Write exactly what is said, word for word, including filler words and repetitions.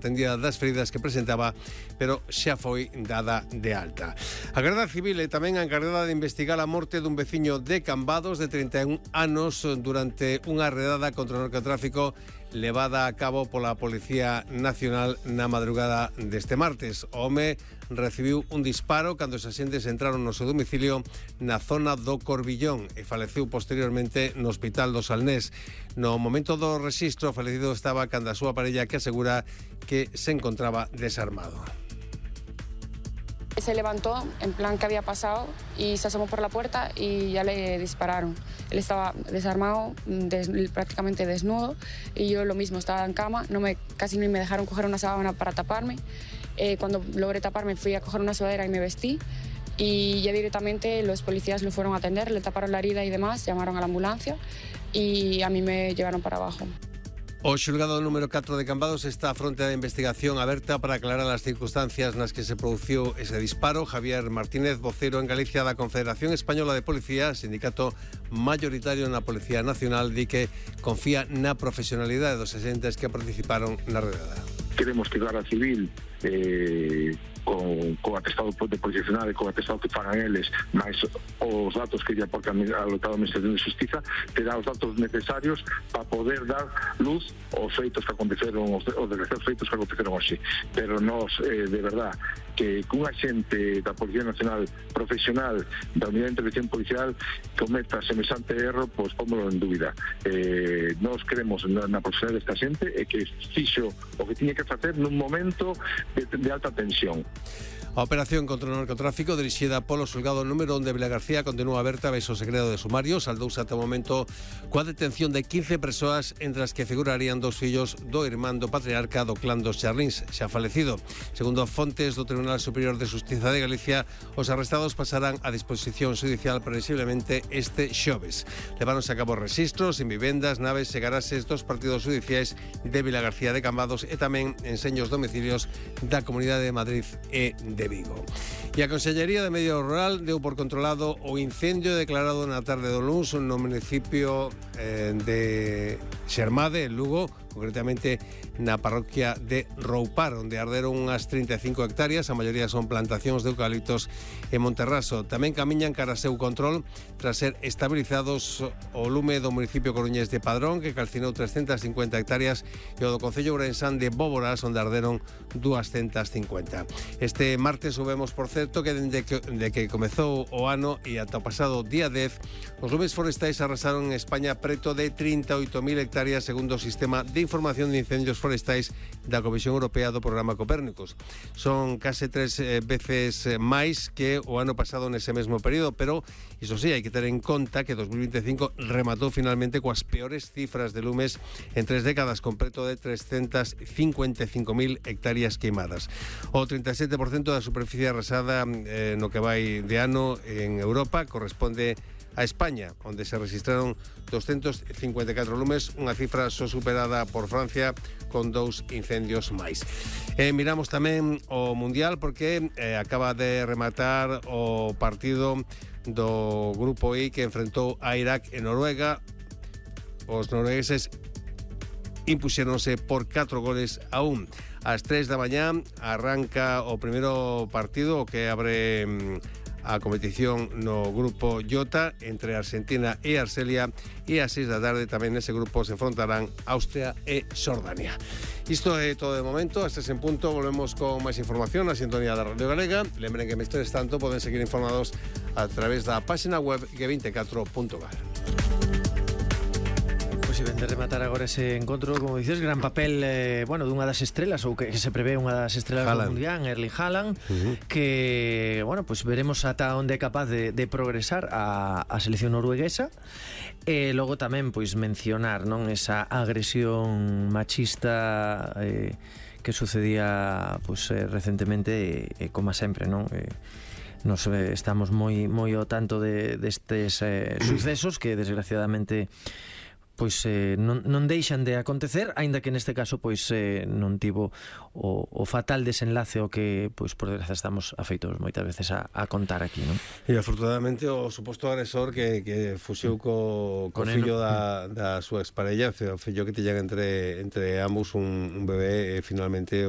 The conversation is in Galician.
atendida das feridas que presentaba, pero xa foi dada de alta. A Garda Civil é tamén a encargada de investigar a morte dun veciño de Cambados de trinta e un anos durante unha redada contra o narcotráfico levada a cabo pola Policía Nacional na madrugada deste martes. O home recibiu un disparo cando os axentes entraron no seu domicilio na zona do Corbillón e faleceu posteriormente no Hospital do Salnés. No momento do rexistro, o falecido estaba canda a súa parella, que asegura que se encontraba desarmado. Se levantó en plan que había pasado y se asomó por la puerta y ya le dispararon. Él estaba desarmado, des, prácticamente desnudo, y yo lo mismo, estaba en cama, no me, casi ni me dejaron coger una sábana para taparme. Eh, cuando logré taparme fui a coger una sudadera y me vestí, y ya directamente los policías lo fueron a atender, le taparon la herida y demás, llamaron a la ambulancia y a mí me llevaron para abajo. O xulgado número catro de Cambados está a fronte da investigación aberta para aclarar as circunstancias nas que se produciu ese disparo. Javier Martínez, vocero en Galicia da Confederación Española de Policía, sindicato mayoritario na Policía Nacional, di que confía na profesionalidade dos agentes que participaron na redada. Queremos que a Garda Civil eh, con, con atestado de Policía Nacional e con atestado que fagan eles, máis os datos que lle aporta a lotada Administración de Justiza, terá os datos necesarios para poder dar luz aos feitos que aconteceron, os, os desgraciados feitos que aconteceron hoxe. Pero nós, eh, de verdad, que un agente da Policía Nacional profesional da Unidade de Intervención Policial cometa semejante erro, pois pómolo en dúbida. Eh, nós queremos na, na profesional desta xente e que fixo o que tiña que facer nun momento de, de alta tensión. A operación contra o narcotráfico dirixida polo xulgado número un de Vilagarcía continúa aberta baixo o segredo de sumario. Saldouse ata o momento coa detención de quince persoas, entre as que figurarían dos fillos do irmán do patriarca do clán dos Charlins, xa falecido. Segundo fontes do Tribunal Superior de Xustiza de Galicia, os arrestados pasarán a disposición judicial previsiblemente este xoves. Leváronse a cabo registros en vivendas, naves e garaxes dos partidos judiciais de Vilagarcía de Cambados e tamén en seños domicilios da Comunidade de Madrid e de Vigo. E a Consellería de Medio Rural deu por controlado o incendio declarado na tarde do luns no municipio eh, de Xermade, en Lugo, concretamente na parroquia de Roupar, onde arderon unhas trinta e cinco hectáreas, a maioría son plantacións de eucaliptos e monterraso. Tamén camiñan cara a seu control tras ser estabilizados o lume do municipio coruñés de Padrón, que calcinou trescentas cincuenta hectáreas, e o do concello ourensán de Bóboras, onde arderon doscientas cincuenta. Este martes subemos, por certo, que dende que, de que comezou o ano e ata o pasado día dez, os lumes forestais arrasaron en España preto de trinta e oito mil hectáreas, segundo o sistema de información de incendios forestais da Comisión Europea do Programa Copérnicos. Son case tres eh, veces máis que o ano pasado nese mesmo período, pero iso sí, hai que ter en conta que dos mil vinte e cinco rematou finalmente coas peores cifras de lumes en tres décadas, con preto de trescentas cincuenta e cinco mil hectáreas queimadas. O trinta e sete por cento da superficie arrasada eh, no que vai de ano en Europa corresponde a España, onde se registraron doscientos cincuenta e catro lumes, unha cifra só superada por Francia, con dous incendios máis. E miramos tamén o Mundial, porque eh, acaba de rematar o partido do Grupo I que enfrentou a Irak e Noruega. Os noruegueses impuxéronse por catro goles a un. Ás tres da mañá arranca o primeiro partido, o que abre a competición no grupo J entre Argentina e Argelia, e ás seis da tarde tamén nese grupo se enfrontarán Austria e Xordania. Isto é todo de momento. Hasta ese punto volvemos con máis información na sintonía da Radio Galega. Lembren que mestres tanto poden seguir informados a través da página web ge veinticuatro punto gal. Pois ben, de rematar agora ese encontro, como dices, gran papel, eh, bueno, dunha das estrelas, ou que, que se prevé unha das estrelas Haaland. do Mundial, Erling Haaland, uh-huh. que, bueno, pois pues veremos ata onde é capaz de, de progresar a, a selección norueguesa. E logo tamén, pois, mencionar, non, esa agresión machista eh, que sucedía, pois, eh, recentemente, e, e como sempre, non, eh, nos eh, estamos moi moi ao tanto de destes eh, sucesos que desgraciadamente pois eh, non, non deixan de acontecer, aínda que neste caso pois eh, non tivo o, o fatal desenlace o que pois por desgracia estamos afeitos moitas veces a, a contar aquí, non? E afortunadamente o suposto agresor que, que fuxiu co, co fillo da, da súa exparella, o fillo que tiñan entre, entre ambos un, un bebé, e finalmente o